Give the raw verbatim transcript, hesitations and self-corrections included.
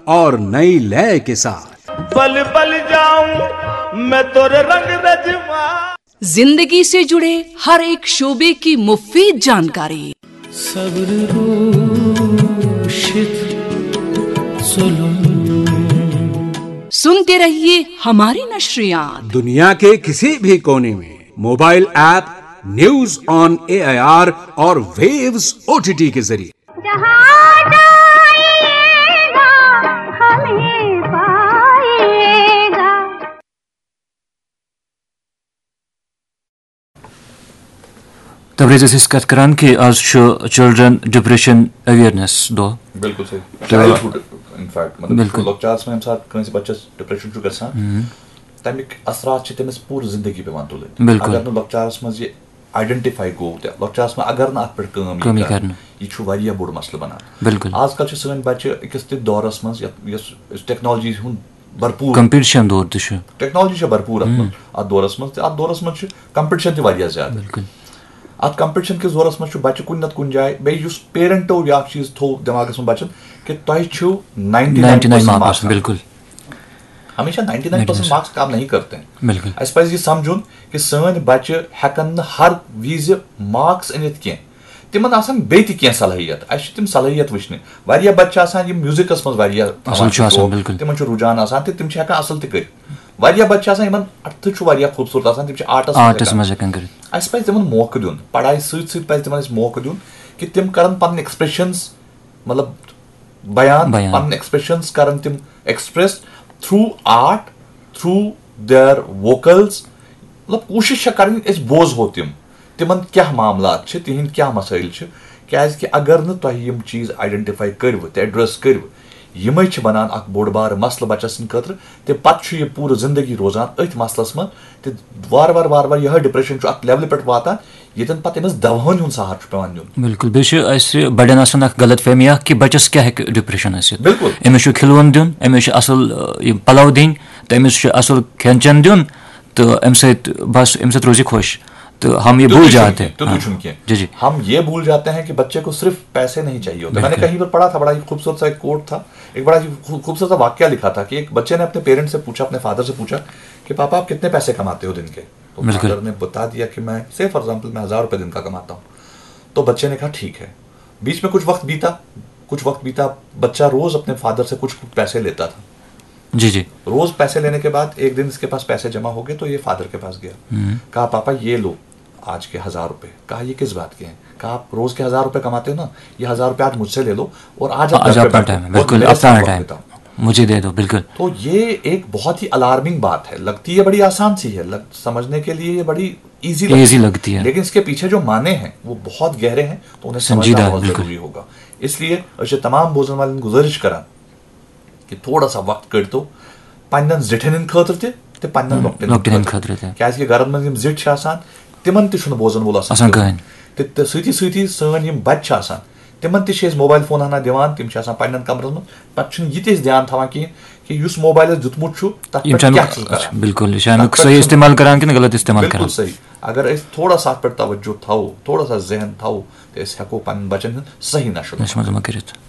और नई लय के साथ। बल बल जाऊं मैं तोरे रंग रजमा। जिंदगी से जुड़े हर एक शोबे की मुफीद जानकारी। सब्र शित जुल्म। सुनते रहिए हमारी नशरियात। दुनिया के किसी भी कोने में mobile app news on AIR और वेव्स ओटीटी के जरिए। जहाँ जाइएगा हमें पाइएगा। تبریز ٲسۍ أسۍ کتھ کران کہِ آز چھُ چلڈرن ڈپریشن اویرنس دۄہ۔ بِلکُل صحیح۔ تہٕ چایلڈہُڈ، ان فیکٹ، مطلب، بِلکُل۔ لۄکچارس منٛز ییٚمہِ ساتہٕ کٲنٛسہِ بچس ڈپریشن چھُ گژھان، تَمِکۍ اثرات چھِ تٔمِس پوٗرٕ زندگی پٮ۪وان تُلٕنۍ۔ بِلکُل۔ اگر نہٕ لۄکچارس منٛز یہِ آیڈنٹیفائی گوٚو تہٕ لۄکچارس منٛز اگر نہٕ اتھ پٮ۪ٹھ کٲم یی کٲم یی کرنہٕ، کرنہٕ۔ یہِ چھُ واریاہ بوٚڑ مسلہٕ بنان۔ بِلکُل۔ آز کل چھِ سٲنۍ بچہِ أکِس تہِ دورس منٛز یتھ، یۄس، یۄس ٹیکنالوجی ہُنٛد بھرپوٗر، کمپٹیشن دور تہِ چھُ۔ ٹیکنالوجی چھےٚ بھرپوٗر اتھ منٛز، اتھ دورس منٛز تہِ، اتھ دورس منٛز چھُ کمپٹیشن تہِ واریاہ زیادٕ۔ بِلکُل۔ اتھ کمپٹیشن کِس دورس منٛز چھُ بچہِ کُنہِ نتہٕ کُنہِ جایہِ، بیٚیہِ یُس پیرنٹو بیاکھ چیٖز تھوٚو دٮ۪ماغس منٛز بچن کہِ تۄہہِ چھِو ninety nine ninety nine percent marks marks. بِلکُل۔ ہمیشہ نائنٹی نائن پرسنٹ مارکس کام نہیں کرتے ہیں۔ بِلکُل۔ اسہِ پزِ یہِ سمجھُن کہِ سٲنۍ بچہِ ہٮ۪کن نہٕ ہر وِزِ مارکس أنِتھ کینٛہہ، تِمن آسن بیٚیہِ تہِ کینٛہہ صلٲحیت، اسہِ چھِ تِم صلٲحیت وٕچھنہِ۔ واریاہ بچہِ چھِ آسان یِم میوزکس منٛز واریاہ اصل چھُ تھاوان آسان، شوق، بِلکُل۔ تِمن چھُ رُجحان آسان تہٕ تِم چھِ ہٮ۪کان اصل تہِ کٔرِتھ۔ واریاہ بچہِ چھِ آسان یِمن اتھٕ چھُ واریاہ خوٗبصوٗرت آسان، تِم چھِ آرٹس منٛز آرٹس ہٮ۪کان۔ منٛز ہٮ۪کان کٔرِتھ۔ اسہِ پزِ تِمن موقعہٕ دیُن، پڑھایہِ سۭتۍ سۭتۍ پزِ تِمن اسہِ موقعہٕ دیُن کہِ تِم کرن پنٕنۍ ایکسپریشنز، مطلب، بیان، بیان۔ پنٕنۍ ایکسپریشنز کرن تِم express through art, through their vocals. مطلب، کوٗشش چھےٚ کرٕنۍ أسۍ بوزہو تِم، تِمن کیاہ معاملات چھِ، تِہنٛدۍ کیاہ مسٲیل چھِ، کیازِ کہِ اگر نہٕ تۄہہِ یِم چیٖز آیڈنٹیفائی کٔرِو تہٕ ایڈریس کٔرِو، یِمے چھِ بنان اکھ بوٚڑ بارٕ مسلہٕ بچس سٕنٛدِ خٲطرٕ، تہٕ پتہٕ چھُ یہِ پوٗرٕ زندگی روزان أتھۍ مسلس منٛز، تہٕ وارٕ وارٕ وارٕ وارٕ یِہے ڈپریشن چھُ اتھ لیولہِ پٮ۪ٹھ واتان، ییٚتٮ۪ن پتہٕ أمِس دوہن ہُنٛد سہارٕ چھُ پٮ۪وان نیُن۔ بِلکُل۔ بیٚیہِ چھِ اَسہِ بَڑٮ۪ن آسان اَکھ غلط فہمی اَکھ کہِ بَچَس کیٛاہ ہیٚکہِ ڈپریشن ٲسِتھ۔ بِلکُل۔ أمِس چھُ کھِلوُن دیُن، أمِس چھُ اَصٕل، یہِ پَلو دِنۍ، تہٕ أمِس چھُ اَصٕل کھٮ۪ن چٮ۪ن دیُن، تہٕ اَمہِ سۭتۍ بَس، اَمہِ سۭتۍ روزِ خۄش۔ تہٕ ہم یہ بھول جاتے ہیں۔ تیُتُے چھُنہٕ کینٛہہ۔ جی، جی۔ ہم یہ بھول جاتے ہیں کہ بچے کو صرف پیسے نہیں چاہیے ہوتے۔ میں نے بِلکُل۔ کہیں پر پڑھا تھا، بڑا ہی خوبصورت سا ایک کوٹ تھا، ایک بڑا ہی خو-، خوبصورت سا واقعہ لکھا تھا کہ ایک بچے نے اپنے پیرنٹ سے پوچھا، اپنے فادر سے پوچھا کہ پاپا، آپ کتنے پیسے کماتے ہو دن کے؟ تو بِلکُل۔ فادر نے بتا دیا کہ میں، سے فار ایگزامپل، میں ہزار روپے دن کا کماتا ہوں۔ تو بچے نے کہا ٹھیک ہے۔ بیچ میں کچھ وقت بیتا، کچھ وقت بیتا، بچہ روز اپنے فادر سے کچھ پیسے لیتا تھا۔ جی، جی۔ روز پیسے لینے کے بعد ایک دن اس کے پاس پیسے جمع ہو گئے تو یہ فادر کے پاس گیا۔ کہا، پاپا، یہ لو آج کے ہزار روپے۔ کہا، یہ کس بات کے ہیں؟ کہا، آپ روز کے ہزار روپے کماتے ہو نا، یہ ہزار روپے آج مجھ سے لے لو اور آج آپ آج گھر پہ اپنا بیٹھو ٹائم ہے، اور بالکل، میرے اپنا ساتھ وقت ٹائم۔ بتاؤ۔ مجھے دے دو، بالکل۔ تو یہ ایک بہت ہی الارمنگ بات ہے، لگتی ہے بڑی آسان سی ہے، لگ، سمجھنے کے لیے یہ بڑی ایزی ایزی لگتی ہے۔ لیکن اس کے پیچھے جو معنی ہیں وہ بہت گہرے ہیں، تو انہیں سنجیدہ سمجھنا ہے، بہت بالکل۔ ضروری ہوگا۔ اس لیے أسۍ چھِ تمام بوزن والٮ۪ن گُزٲرِش کران کہ تھوڑا سا وقت کٔڑتو پننٮ۪ن زِٹھٮ۪ن ہٕنٛدِ خٲطرٕ تہِ تہٕ پننٮ۪ن لۄکٹٮ۪ن لۄکٹٮ۪ن ہٕنٛدِ خٲطرٕ تہِ۔ کیازِ کہِ گرن منٛز یِم زِٹھۍ چھِ آسان، تِمن تہِ چھُنہٕ بوزن وول آسان آسان کٕہٕنۍ۔ کٕہٕنۍ۔ تہٕ، تہٕ سۭتی سۭتی سٲنۍ یِم بچہِ چھِ آسان، تِمن تہِ چھِ أسۍ موبایل فون ہنا دِوان، تِم چھِ آسان پننٮ۪ن کمرن منٛز، پتہٕ چھُنہٕ یہِ تہِ أسۍ دھیان تھاوان کِہیٖنۍ کہِ یُس موبایلس دیُتمُت چھُ، تتھ یِم پٮ۪ٹھ چھِ اَمیُک، کیٛاہ چھُ کران۔ اچھا، بِلکُل، یہِ چھِ اَمیُک تتھ پٮ۪ٹھ صحیح چھُنہٕ استعمال کران کِنہٕ غلط استعمال بِلکُل کران؟ صحیح۔ اگر أسۍ تھوڑا سا اتھ پٮ۪ٹھ توجہ تھاوو، تھوڑا سا ذہن تھاوو، تہٕ أسۍ ہٮ۪کو پننٮ۪ن بچن ہُنٛد صحیح نشو۔ نشو منٛز ما کٔرِتھ۔